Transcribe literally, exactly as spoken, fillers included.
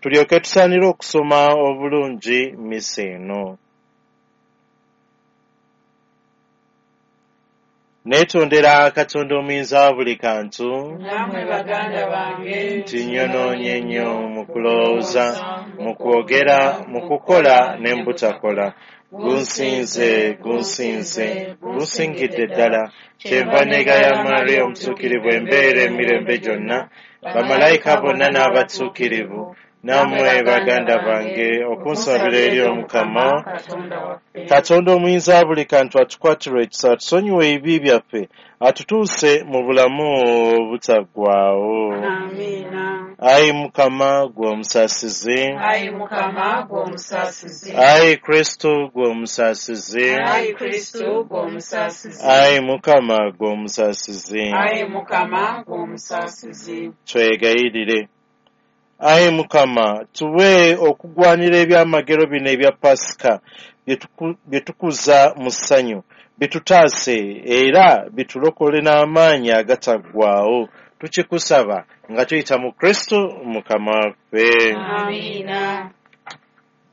Tulyoke tusaanire okusoma obulungi mmisa eno. Neetondera Katonda omuyinza wa buli kantu Nammwe baganda bange nti nnyonoonye nnyo mu kulowooza, mu kwogera, mu kukola ne mu butakola. Gunsinze, gunsinze, gunsingidde ddala. Kyenva neegaya Maria omutuukirivu embeera emirembe gyonna, bamalayika bonna n'abatuukirivu, nammwe baganda bange okunsabira eri Omukama. Katonda waffe. Katonda omuyinza wa buli kantu atukwatirwe ekisa, atusonyiwe ebibi byaffe, atutuuse mu bulamu obutaggwaawo. Amiina. Ayi Mukama ggwe omusaasizi. Ayi Mukama ggwe omusaasizi. Ayi Kristo ggwe omusaasizi. Ayi Kristo ggwe omusaasizi. Ayi Mukama ggwe omusaasizi. Ayi Mukama ggwe omusaasizi. Twegayirire. Ayi Mukama, tuwe okugwanira ebyamagero bino ebya Pasika bye tuku- bye tukuza mu ssanyu, bitutaase era bitulokole n'amaanyi agataggwaawo. Tukikusaba nga tuyita mu Kristo Mukama waffe. Amiina.